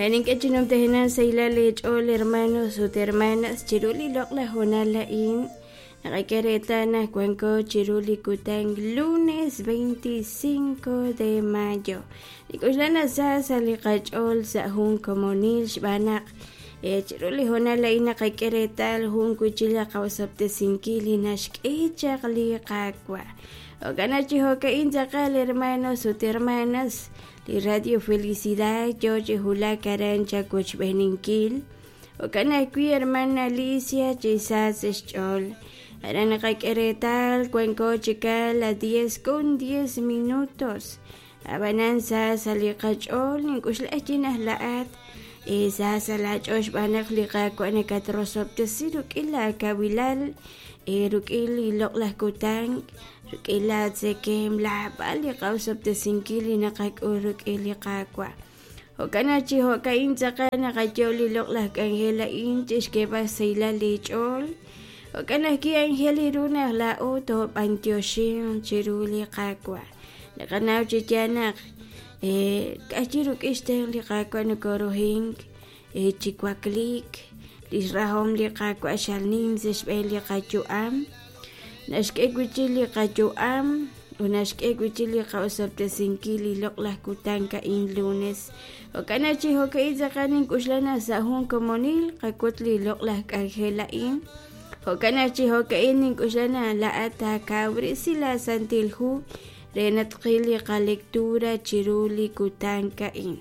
Aran nink'e chi numtajenaq sahilal eech'ool hermanos ut hermanas chiru li loq'laj hoonal a'in naqak'e reetal naq wanko chiru li kutan lunes 25 de mayo. Nik'oxla naq sa sa' li qach'ool sa' jun komonil xb'aan naq chiru li hoonal a'in naqak'e reetal jun wi'chik li qaosob'tesinkil li naxk'e chaq li Qaawa'. Jo'kan naq chi jo'ka'in tz'aqal hermanos ut hermanas, li Radio Felicidad yoo chi wulak aran chawochb'eeninkil. Jo'kan ajwi' hermana Alicia chi sa sa' xch'ool. Aran naqak'e reetal wanko chikal a 10 con 10 minutos. Ab'anan sa sa' li qach'ool nink'oxla chi naq laa'at sa sa' laach'ool xb'aan naq li Qaawa' nakatrosob'tesi rik'in laakawilal, rik'in li loq'laj kutan, rik'in laatzekemq, laab'al li qaosob'tesinkil li naqak'ul rik'in li Qaawa'. Jo'kan naq chi jo'ka'in tz'aqal naqayo' li loq'laj k'anjel a'in chixk'eeb'al xsahilal leech'ool. Jo'kan ajwi' aajel ru naq laa'o toob'anyoxinq chiru li Qaawa'. Naqanaw chi yaal naq ka'ajwi' rik'in xtenq' li Qaawa' nokoruhink chi wakliik. Lix rahom li Qaawa' xal nim sa' xb'een li qayu'am. Naxk'e wi' chik li qayu'am ut naxk'e wi' chik li qa'osob'tesinkil li loq'laj kutan a'in lunes. Jo'kan naq chi jo'ka'in tz'aqal nink'oxla naq sa' jun komonil qak'ut li loq'laj k'anjel a'in. Jo'kan naq chi jo'ka'in nink'oxla naq laa'at taakawresi laa Santil Hu re naq tqil li qalectura chiru li kutan a'in.